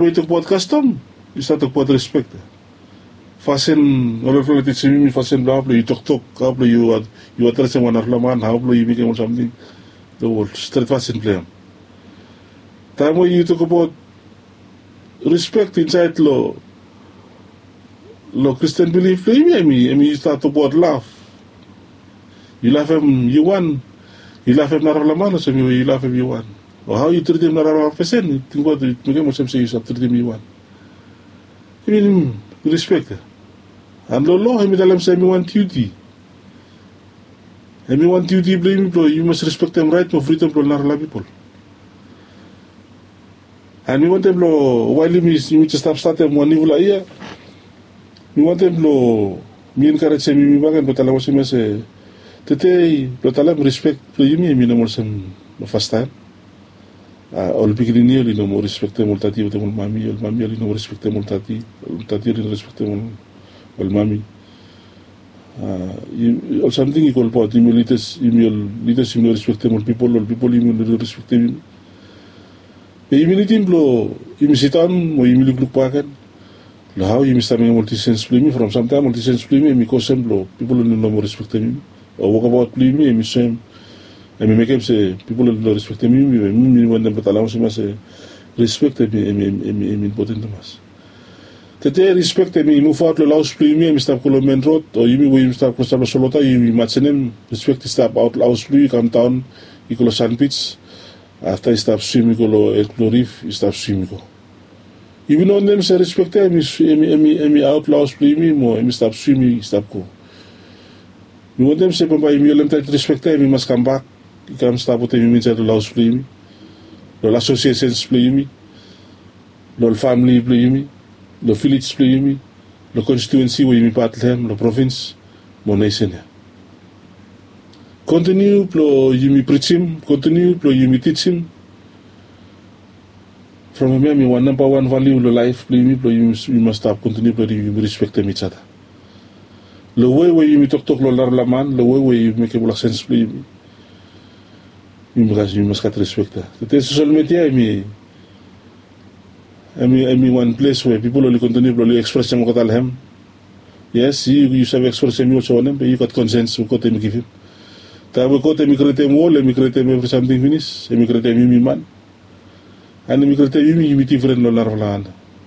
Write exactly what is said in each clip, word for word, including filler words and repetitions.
we yu tokbaot kastom, yu stap tokbaot rispek. Fasin ol olfala i tisim yumi fasin blong hao blong yu toktok, hao blong yu adresem wan narafala man, hao blong yu mekem ol samting. Long ol stret fasin blong hem. Taem we yu tokbaot rispek insaed long kristen bilif blong yumi, hem i stap tokbaot lav. Yu lavem yu wan, yu lavem narafala man olsem we yu lavem yu wan. O hao yu tritim narafala pesen, tingbaot i mekem olsem se yu save tritim yu wan. Hem i rispek ya. An long lo hem i talem se hem i wan diuti. Hem i wan diuti blong yumi blong yumi mas rispektem raet mo fridom blong narafala pipol. An mi wantem blong wael yumi jes stap statem wan niufala yia, mi wantem blong mi enkarejem yumi bakegen blong talem olsem ya se, tede blong talem rispek blong yumi hem i no moa olsem long fastaem. Ol pikinini oli no moa rispektem ol tati wetem ol mami, ol mami oli no moa rispektem ol tati, ol tati oli no rispektem ol mami. Ol samting i go olbaot yumi ol lidas, yumi ol lidas yumi no rispektem ol pipol, ol pipol yumi oli no rispektem yumi. Be yumi nidim blong yumi sidaon mo yumi lukluk bakegen long hao yumi stap mekem ol disisens blong yumi. From samtaem ol disisens blong yumi hem i go sem blong pipol oli no moa rispektem yumi. O wokabaot blong yumi hem i soem, hem i mekem se pipol oli no rispektem yumi. Be mi wantem blong talem olsem ya se rispek hem i impoten tumas. Tede rispek hem i muvaot long ol haos blong yumi hem i stap go long men rod, o yumi we yumi stap klosap long solota yumi imajenem rispek i stap aot long haos blong yu i kamdaon i go long sanbij. Afta i stap swim i go long ed blong rif i stap swim i go. Yumi no wantem se rispek ya hem i aot long haos blong yumi mo hem i stap swim i stap go. Mi wantem se bambae yumi holem taet rispek ya hem i mas kambak i kam stap wetem yumi insaed long ol haos blong yumi, long ol asosiesens blong yumi, long ol famili blong yumi, long vilej blong yumi, long konstitiuensi we yumi pat long hem, long provins mo nesen ya. Kontiniu blong yumi prijim, kontiniu blong yumi tijim. From hemia hem i wan nambawan valiu long laef blong yumi blong yumi mas stap kontiniu blong yumi rispektem ijada. Long we we yumi toktok long narafala man, long we we yumi mekem ol aksens blong yumi, yumi mas gat rispek ya. Tede sosel midia hem i hem i wan ples we pipol oli kontiniu blong oli ekspresem olgeta long hem. Yes, yu yu save ekspresem yu olsem wanem be yu gat konsens we god hem i givim. Taem we god hem i krietem wol, hem i krietem evri samting finis, hem i krietem yumi man, an hem i krietem yumi yumi difren long narafala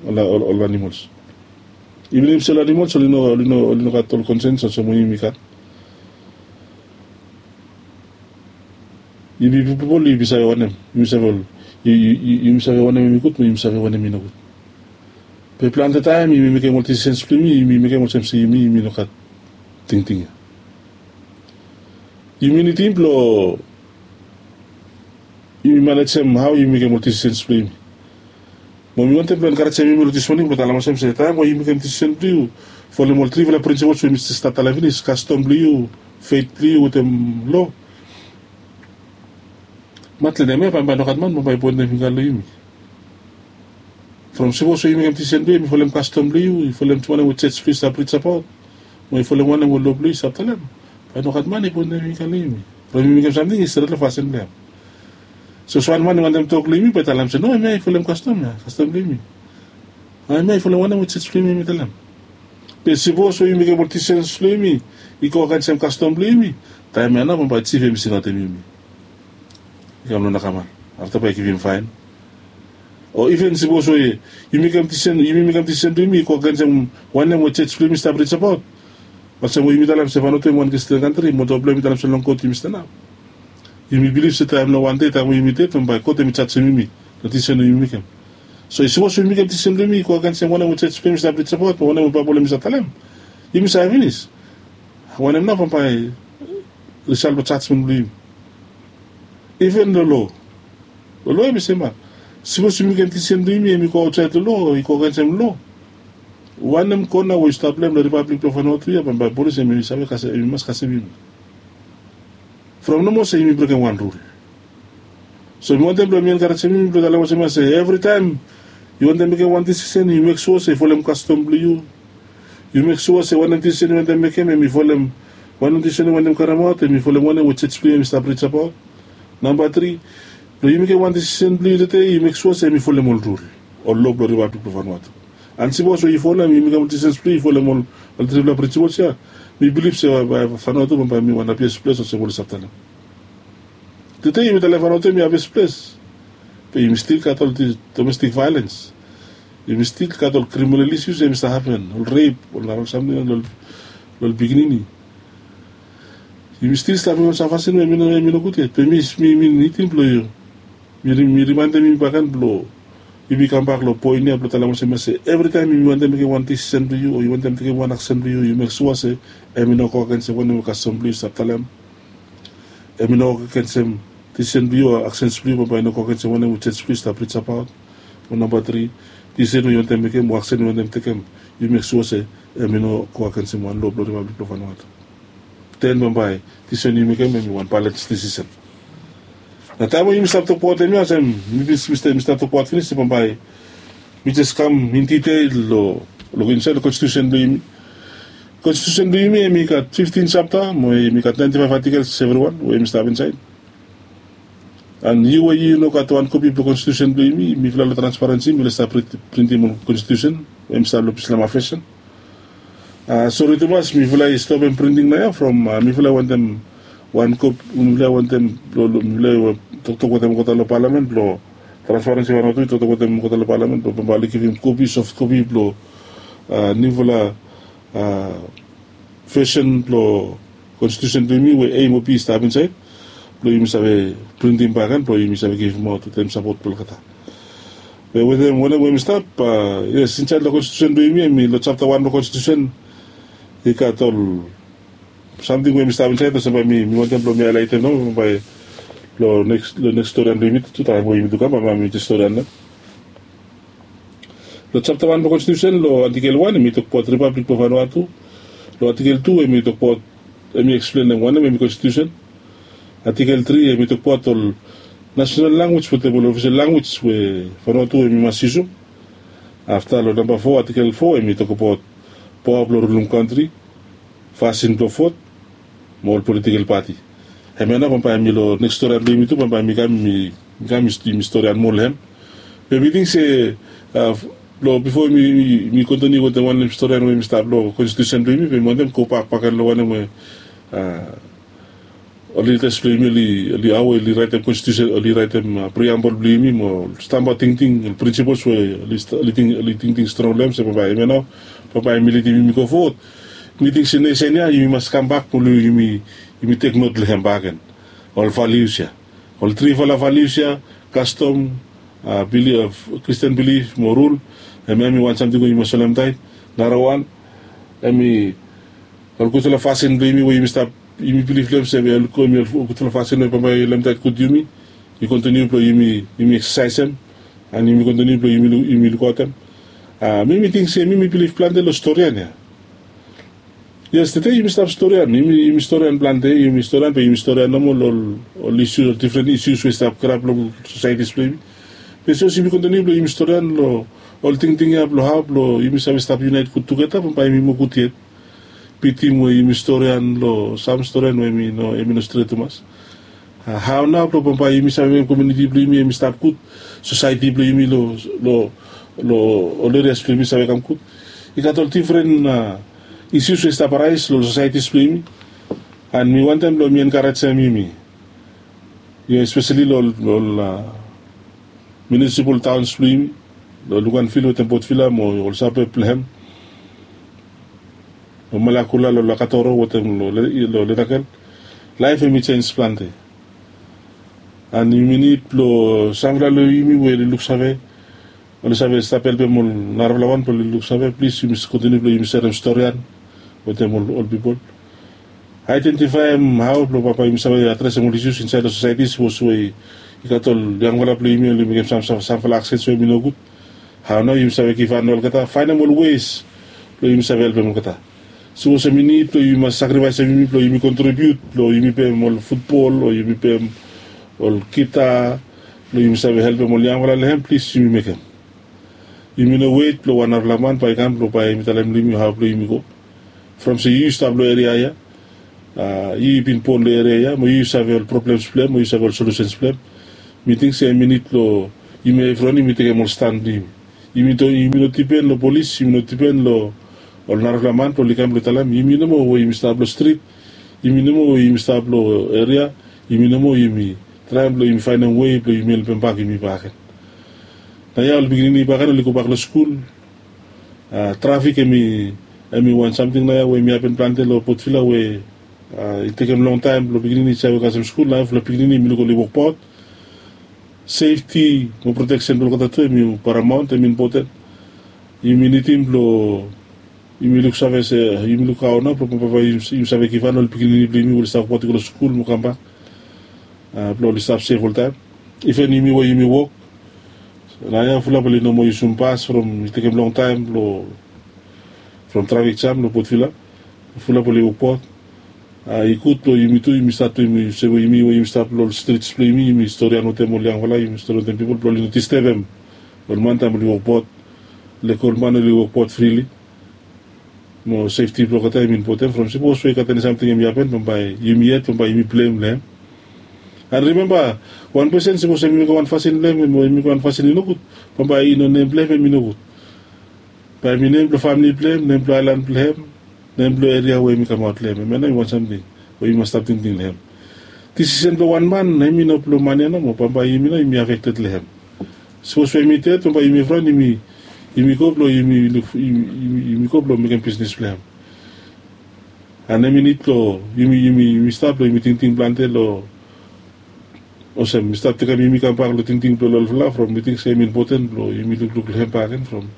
ol animols. Iven ipse ol animols oli no gat ol konsens olsem we yumi gat. Yumi pipol yumi save wanem, yumi save wanem hem i gud mo yumi save wanem i nogud. Be plante taem yumi mekem ol disisens blong yumi yumi mekem olsem se yumi yumi no gat tingting ya. Yumi nidim blong yumi manejem hao yumi mekem ol disisens blong yumi. Mo mi wantem blong enkarejem yumi long dismoning blong talem olsem se taem we yu mekem disisen blong yu folem ol trifala prinsipols we mi jes stap talem finis, kastom blong yu, fet blong yu wetem lo, matlede hemia bambae nogat man bambae i poentem fingga long yumi. From sipos we yu mekem disisen blong yu hem i folem kastom blong yu, i folem wanem we joj blong yu i stap rijabaot, mo i folem wanem we lo blong yu i stap talem, bae nogat man i poentem fingga long yumi. From yu mekem samting i stret long fasin blong hem. Sapos wan man i wantem tok long yumi bae i talem se no, hemia i folem kastom ya, kastom blong yumi. Hemia i folem wanem we joj blong yumi hem i talem. Be sipos we yu mekem ol disisens blong yumi i go agensem kastom blong yumi, taem ya nao bambae jif hem i singaotem yumi i kam long nakaman, afta bae i givim faen. O iven sipos we yumi mekem disisen blong yumi i go agensem wanem we joj blong yumi i stap rijabaot, olsem we yumi talem se faenotu hem i wan kristin kantri, moldova blong hem i talem se long god yumi stanap. Yumi bilif se taem long wande taem we yumi ded bambae god hem i jajem yumi long disisen we yumi mekem. So i sipos we yumi mekem disisen blong yumi i go agensem wanem we joj blong yumi i stap rijabaot mo wanem we baebol hem i stap talem, yumi save finis wanem nao bambae risal blong jajmen blong yumi. Iven long lo, long lo hem i sem ya. Sipos yumi mekem disisen blong yumi hem i go aotsaed long lo, i go agensem lo, wanem kona we yu stap long hem long ripablik blong faenotu ya bambae polis hem i save kasem, hem i mas kasem yumi. From nomo se yumi brekem wan rul. So mi wantem blong mi enkarejem yumi blong talem olsem ya se evritaem yu wantem mekem wan disisen yu mek sua se i folem kastom blong yu. Yu mek sua se wanem disisen yu wantem mekem hem i folem, wanem disisen yu wantem karemaot hem i folem wanem we joj blong yu hem i stap rijabaot. Namba tri, blong yu mekem wan disisen blong yu tede yu mek sua se hem i folem ol rul. ol lo blong Ripablik blong Vanuatu. And sipos we yu folem, yumi kam ol disens blong yu, yu folem ol trifala prinsipol ya, mi bilif se Vanuatu bambae mi wan happiest ples olsem oli stap talem. Tede yumi talem Vanuatu hemi happiest ples, be yumi stil gat ol domestik vaelens. Yumi stil gat ol kriminal isius ya hemi stap hapen, ol rep, ol narol samting long ol pikinini. Yumi stil stap long wan sam fasin we hemi no gud yet. Be mi mi nidim blong yu, mi rimaendem yumi bakegen blong yumi kambak long poen ya blong talem olsem ya se evritaem yumi wantem mekem wan disisen blong yu o yu wantem tekem wan aksen blong yu, yu mek sua se hemi no go agensem wanem we kastom blong yu stap talem. Hemi no go agensem disisen blong yu o aksens blong yu, bambae i no go agensem wanem we joj blong yu stap rijabaot. O namba tri, disisen we yu wantem mekem o aksen we yu wantem tekem, yu mek sua se hemi no go agensem wan lo blong Ripablik blong Vanuatu. Den bambae disisen we yu mekem hemi wan balens disisen. Na taem we yumi stap tokbaot hemia olsem mi stap tokbaot finis se bambae mi jes kam in ditel long insaed long konstitusen blong yumi. Konstitusen blong yumi hemi gat fiftin japta mo hemi gat naenti faef atikels evriwan we hemi stap insaed. And yu we yu no gat wan kopi blong konstitusen blong yumi, mifala long transparensi mifala i stap printim ol konstitusen we hemi stap long Bislama Fashion. Sori tumas, mifala i stopem printing naoia from mifala i wantem wan kop mifala i wantem mifala i toktok wetem olgeta long palamen blong transparensi Vanuatu i toktok wetem olgeta long palamen blong bambae oli givim kopi, soft kopi blong niufala vesen blong konstitusen blong yumi we A mo B i stap insaed blong yumi save printim bakegen blong yumi save givimaot wetem sapot blong olgeta. Be wetem wanem we hemi stap, yes, insaed long konstitusen blong yumi hemi long japta wan blong konstitusen i gat ol samting we hemi stap insaed olsem bae mi wantem blong mi haelaetem nao bae long neks storian blong yumi tu taem we yumi tu kam bae mi jes storian nao. Long japta wan blong konstitusen long atikel wan hemi tokbaot Ripablik blong Vanuatu. Long atikel tu hemi tokbaot, hemi eksplenem wanem hemi konstitusen. Atikel tri hemi tokbaot ol nasenal lanwis wetem ol ofisel lanwis we Vanuatu hemi mas yusum. Afta long namba fo, atikel fo hemi tokbaot paoa blong rulum kantri, fasin blong vot mo ol politikel pati. Hemia nao bambae mi long neks storian blong yumi tu bambae mi kam mi kam yumi storian moa long hem. Be mi ting se long bifo mi kontiniu wetem wanem storian we mi stap long konstitusen blong yumi be mi wantem gobak bakegen long wanem we ol lidas blong yumi oli hao oli raetem konstitusen, oli raetem priambol blong yumi mo ol stamba tingting, ol prinsipols we oli tingting strong long hem se bambae hemia nao bambae hemi lidim yumi go fowod. Mi ting se nesen ya yumi mas kambak blong yumi teknot long hem bakegen. Ol valius ya, ol trifala valius ya, kastom, kristian bilif mo rul. Hemia hemi wan samting we yumi mas solemtaet. Narawan hemi ol gudfala fasin blong yumi we yumi stap yumi bilif long hem se hemi ol gudfala fasin we bambae i lemtaet gud yumi. Yu kontiniu blong yumi eksasaesem and yumi kontiniu blong yumi lukaotem. Mi mi ting se mi mi bilif plante long storian ya. Yes, tede yumi stap storian, yumi storian plante, yumi storian be yumi storian nomo long ol isius, ol difren isius we i stap kirap long sosaetis blong yumi. Be sapos yumi kontiniu blong yumi storian long ol tingting ya blong hao blong yumi save stap yunaet gud tugeta bambae yumi moa gud yet. Bitim we yumi storian long sam storian we hemi no stret tumas. Hao nao blong bambae yumi save mekem komuniti blong yumi hemi stap gud, sosaeti blong yumi long ol erias blong yumi save kam gud? I gat ol difren isius we i stap raes long sosaetis blong yumi. And mi wantem blong mi enkarejem yumi, espeseli long ol miunisipol taons blong yumi long Luganvil wetem Potvila mo ol sabeb blong hem, long Malakula, long Lakatoro wetem long Letakel. Laef hemi jens plante. And yumi nid blong samfala long yumi we oli luksave, oli save stap helpem ol narafala wan blong oli luksave, plis yumi kontiniu blong yumi serem storian wetem ol pipol. Aedentifaem hao blong bambae yumi save adresem ol isius insaed long sosaeti sapos we i gat ol yangfala blong yumi oli mekem samfala aksens we hemi nogud. Hao nao yumi save givhan long olgeta, faenem ol wes blong yumi save helpem olgeta. Sapos hemi nid blong yumi mas sakrifaesem yumi blong yumi kontribiut blong yumi pem ol futbol o yumi pem ol gita blong yumi save helpem ol yangfala long hem, plis yumi mekem. Yumi no wet blong wan narafala man bae i kam blong bae hemi talem long yumi hao blong yumi go. From se yu yu stap long eria ya, yu yu bin bon long eria ya mo yu yu save ol problems blong hem mo yu save ol solusens blong hem. Mi ting se hemi nid blong yumi evriwan yumi tekem ol stan blong yumi. Yumi no dipen long polis, yumi no dipen long ol narafala man blong oli kam blong talem yumi nomo we yumi stap long strit, yumi nomo we yumi stap long eria, yumi nomo yumi traem blong yumi faenem wei blong yumi helpem bak yumi baken. Naoia ol pikinini baken oli gobak long skul. Trafik em i wan samting naoia we em i hapen plante long potvila we i tekem longtaem blong pikinini i save kasem skul naoia fulap pikinini yumi luk oli wokbaot. Sefti mo proteksen blong olgeta tu em i paramaon em i impoten. Yumi nidim blong yumi luksave se yumi luk hao nao blong bambae yumi save givhan ol pikinini blong yumi we oli stap wokbaot i go long skul mo kambak blong oli stap sef oltaem. Iven yumi we yumi wok naoia fulap oli no moa yusum bas from i tekem longtaem blong from trafik jam long potvila. Fulap oli wokbaot. I gud blong yumi tu yumi stat tu yumi se we yumi we yumi stap long ol strits blong yumi yumi storian wetem ol yangfala yumi storian wetem pipol blong oli no distebem ol man taem oli wokbaot. Lek ol man oli wokbaot frili mo sefti blong olgeta em i impoten from sipos we i gat eni samting em i hapen bambae yumi yet bambae yumi blem long hem. An rimemba, wan pesen sipos em i mekem wan fasin blong hem o em i mekem wan fasin i nogud, bambae i no nem blong hem em i nogud. Bae em i nem blong famili blong hem, nem blong aelan blong hem, nem blong eria we em i kamaot long hem. Hemia nao em i wan samting we yumi mas stap tingting long hem. Disisen blong wan man em i no blong man ya nomo, bambae yumi nao yumi afekted long hem. Sipos we em i ded bambae yumi evriwan yumi go blong yumi go blong mekem bisnis blong hem. An em i nid blong yumi yumi stap blong yumi tingting plante long olsem mi stap tekem yumi kambak long tingting blong ol olfala from mi ting se em i impoten blong yumi lukluk long hem baken from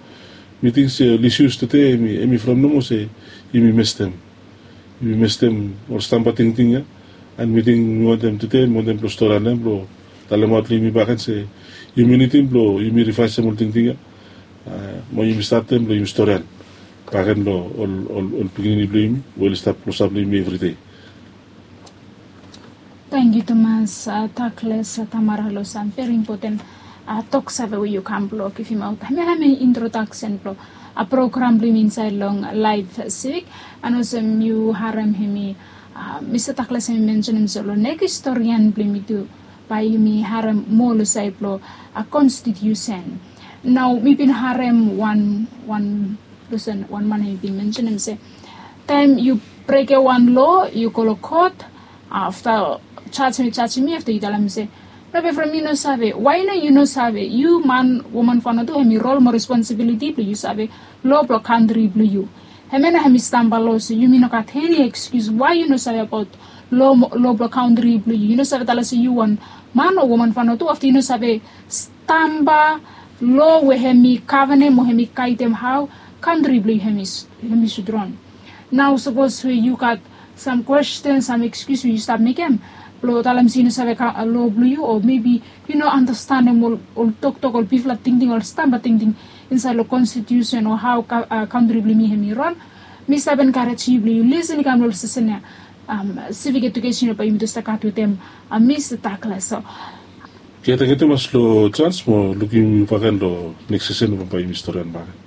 mi ting se ol isius tude em i from nomo se yumi mestem yumi mestem ol stamba tingting ya. An mi ting mi wantem tude mi wantem blong storian hem blong talemaot long yumi baken se yumi nidim blong yumi rivaesem ol tingting ya mo yumi statem blong yumi storian baken long ol pikinini blong yumi we oli stap klosap long yumi evridei. Tangkiu tumas, takles tamara long sam veri impoten toksave we yu kam blong givimaot hemia hem introdaksen blong program blong yumi insaed long laef sivik. An olsem yu harem hemi mista takles hemi mensenem se long nekis storian blong yumi tu bae yumi harem moa long saed blong konstitiusen. Nao mi bin harem wan wan pesen wan man hemi bin mensenem se taem yu brekem wan loa yu go long kot afta jaj hemi jajim mi afta yu talem se, no be from mi no save. Wae nao yu no save? Yu man woman fano tu hemi rol mo responsibiliti blong yu save loa blong kantri blong yu. Hemia nao hemi stamba loa se yumi no gat eni ekskius wae yu no save abaot loa blong kantri blong yu. Yu no save talem se yu wan man o woman fano tu afta yu no save stamba loa we hemi gavenem o hemi gaedem hao kantri blong yu hemi sud ron. Nao sapos we yu gat sam kwesten sam ekskius we yu stap mekem blong talem se yu no save loa blong yu o mebi yu no anastenem ol toktok ol bigfala tingting ol stamba tingting insaed long konstitiusen o hao kantri blong yumi hemi ron. Mi stap enkarejem yu blong yu lisen i kam long ol sesen ya. Sivik ejukesen ya bae yumi tu stap gat wetem mista takles. So ya tangkiu tumas long jans mo lukim yu baken long neks sesen bambae yumi storian baken.